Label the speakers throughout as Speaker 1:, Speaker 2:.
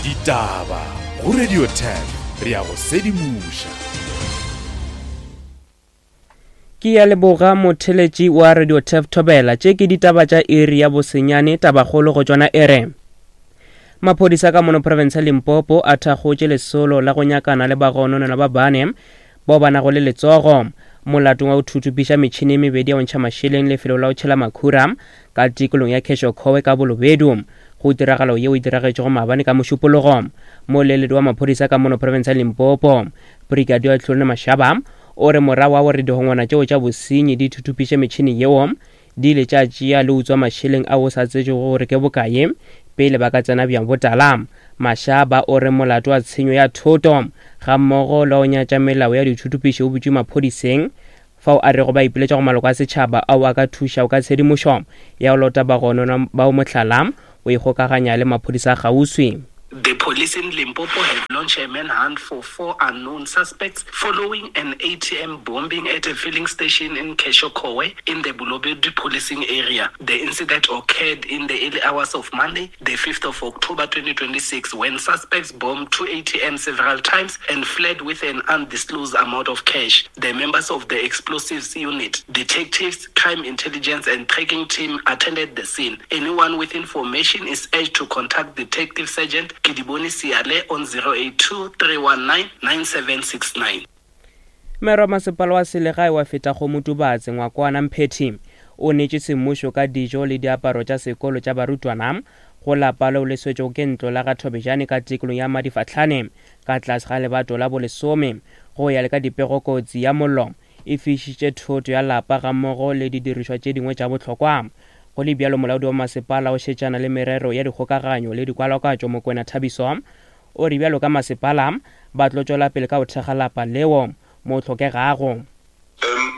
Speaker 1: Ditaba go Radio 10 re a go sedimoša.
Speaker 2: Ke ya leboga motheletši wa Radio Tef Thobela. Tše ke ditaba tša iri ya bosenyane tabakgolo go tšona e re. Maphodisa ka mono province ya Limpopo a thakgotše lesolo la go nyakana le bagononelwa ba bane bao ba nago le letsogo molatong wa go thuthupiša metšhini e mebedi ya go ntšha mašeleng lefelo la go tšhela makhura ka tikolong ya Kheshokowe ka Bolobedu. Go tiragalo yeo e diragetšego maabane ka Mošupologo, moleledi wa maphodisa ka mono province ya Limpopo, Brigadier Tlolone Mashaba, o re morago wa gore dihongwana tšeo tša bosenyi di thuthupiše metšhini yeo, di ile tša tšea le utswa mašeleng ao o sa tsetšego gore ke bokae pele ba ka tsena bjang botala. Mashaba o re molato wa tshenyo ya thoto gammogo le wa go nyatša melao ya dithuthupiši o butšwe maphodiseng fao a rego ba ipiletša go maloko a setšhaba ao a ka thušago ka tshedimošo ya go lota bagononwa bao mohlala o ikgokaganya le maphodisa a kgauswi.
Speaker 3: The police in Limpopo have launched a manhunt for four unknown suspects following an ATM bombing at a filling station in Keshokowe in the Bolobedu policing area. The incident occurred in the early hours of Monday, the 5th of October 2026, when suspects bombed two ATMs several times and fled with an undisclosed amount of cash. The members of the explosives unit, detectives, crime intelligence and tracking team attended the scene. Anyone with information is urged to contact Detective Sergeant Kidiboni Siale on 082 319 9769.
Speaker 2: Mero wa masepala wa selegae wa Fetakgomo-Tubatse, Ngwakoana Mphethi, o neetše semmušo ka dijo le diaparo tša sekolo tša barutwana go lapa leo le swetšego ke ntlo la ga Thobejane ka tikolong ya Madifahlane ka tlase ga lebato la bolesome. Go ya le ka dipego kotsi ya mollo e fišitše thoto ya lapa gammogo le didirišwa tše dingwe tša bohlokwa. Go le bjalo, molaodi wa masepala o šetšana le merero ya dikgokaganyo le dikwalakwatšo Mokwena Thabiso o re bjalo ka masepala ba tlo tšwela pele ka go thekga lapa leo mo hlokegago.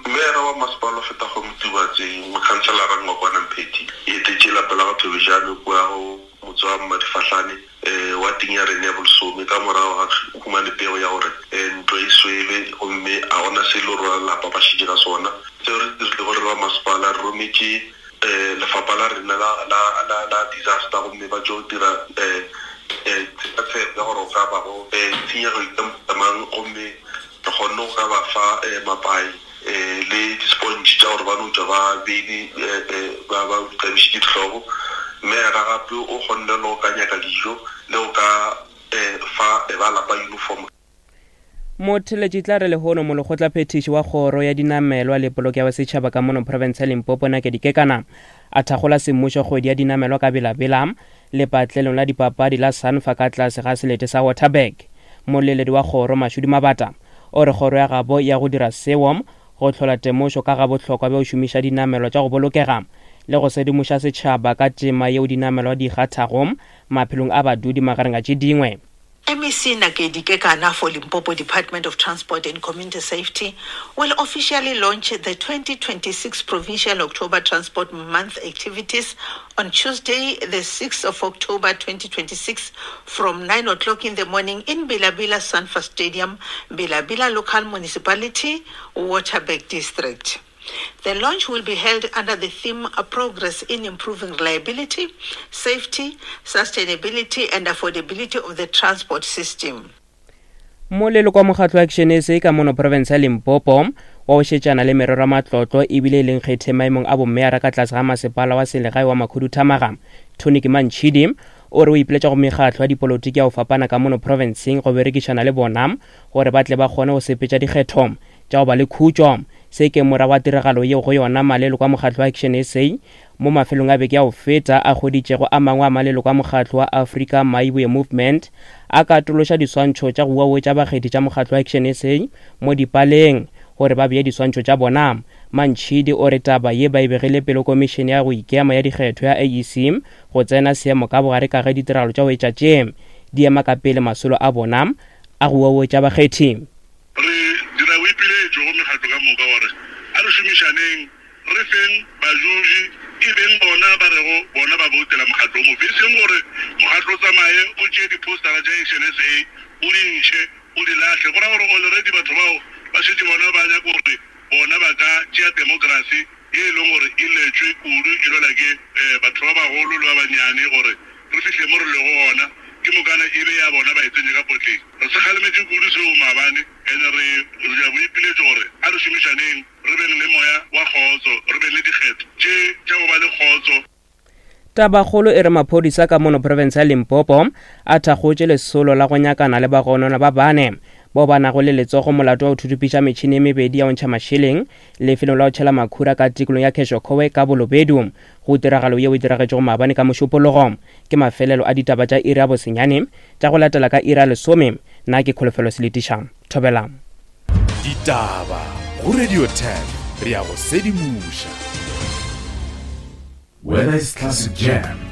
Speaker 4: Meyara wa masepala o fetago Motubatse, Mokhanselara Ngwakwana Mphethi, e etetše lapa la ga Thobejane kua go motse wa Mmadifahlane wateng ya rena ya bolesome ka morago ga humane pego ya gore ntlo e swele gomme a gona se e le gore ba lapa ba šetše ka sona. Seo re se dirilego re le ba masepala re rometše lefapha la rena la, la, la, la disaster gomme ba tšo dira tshekatsheko ya gore go ka bago tshenyego e ka mohuta mang gomme Re kgonne go ka ba fa mapai le di-sponge tša gore ba no tšwa ba beile ba ba tlabišitše dihlogo. Mme yena gape o kgonne le go ka nyaka dijo le go ka fa ba lapa uniform.
Speaker 2: Motheletši tla re lehono molekgotlaphethiši wa kgoro ya dinamelwa le polokego ya setšhaba ka mono profense ya Limpopo Nakedi Kekana a thakgola semmušo kgwedi ya dinamelwa ka Bela-Bela lepatlelong la dipapadi la Sanfa ka tlase ga selete sa Waterberg. Moleledi wa kgoro, Mashudu Mabata, o re kgoro ya gabo ya go dira seo go hlola temošo ka ga bohlokwa bja go šomiša dinamelwa tša go bolokega le go sedimoša setšhaba ka tema yeo dinamelwa di e kgathago maphelong a badudi magareng a tše dingwe.
Speaker 5: MEC Nakedi Kekana for Limpopo Department of Transport and Community Safety will officially launch the 2026 Provincial October Transport Month activities on Tuesday, the 6th of October 2026 from 9 o'clock in the morning in Bilabila Sanfa Stadium, Bilabila Local Municipality, Waterberg District. The launch will be held under the theme Progress in Improving Reliability, Safety, Sustainability and Affordability of the Transport System.
Speaker 2: Moleloko wa mokgatlo wa Action SA ka mono profense ya Limpopo wa go šetšana le merero ya matlotlo ebile e leng kgethe maemong a bommeyara ka tlase ga masepala wa selegae wa Makhuduthamaga Tony Kimantšhidi o re o ipiletša go mekgatlo ya dipolotiki ya go fapana ka mono profenseng go berekišana le bona gore ba tle ba kgone go sepetša dikgetho tša go ba le khutšo. Se ke morago ga tiragalo yeo go yona maleloko a mokgatlo wa Action SA mo mafelong a beke ya go feta a hweditšego a mangwe a maleloko a mokgatlo wa Africa Maiboe Movement a katološa diswantšho tša go uauetša bakgethi tša mokgatlo wa Action SA mo dipaleng gore ba bee diswantšho tša bona. Mantšhidi o re taba ye ba e begile pele Komišene ya go Ikema ya Dikgetho ya IEC go tsena seemo ka bogare ka ge ditiragalo tša go etša tše di ema ka pele masolo a bona a go uauetša bakgethi.
Speaker 4: Re dira boipiletšo go mekgatlo ka moka gore a re šomišaneng, re feng bajuji e beng bona ba rego bona ba boutela mokgatlo o mofe, e seng gore mokgatlo o tsamaye o tšee diphousetara tša Action SA o di ntšhe o di lahle. Go ra gore already batho bao ba šetše bona ba nyaka gore bona ba ka tšea demokrasi ye e leng gore e letšwe kudu e lwela ke batho ba bagolo le ba banyane gore re fihle mo re lego gona. Ke mokana. e be ya bona ba e tsentše ka potleng. Re se kgalemetše kudu seo maabane ene re re dira boipiletšo gore a re šomišaneng re beng le moya wa kgotso, re beng le dikgetho tše tša go ba le kgotso.
Speaker 2: Tabakgolo e re maphodisa ka mono profense ya Limpopo a thakgotše lesolo la go nyakana le bagononwa ba bane bao ba nago le letsogo molato wa go thuthupiša metšhini e mebedi ya go ntšha mašeleng lefelong la go tšhela makhura ka tikolong ya Kheshokowe ka Bolobedu. Go tiragalo yeo e diragetšego maabane ka Mošupologo. Ke mafelelo a ditaba tša iri ya bosenyane tša go latela ka iri ya lesome. Nna ke Kholofelo Seletiša. Thobela.
Speaker 1: Ditaba go Radio 10 re a go sedimoša.
Speaker 6: Whether it's classic jam,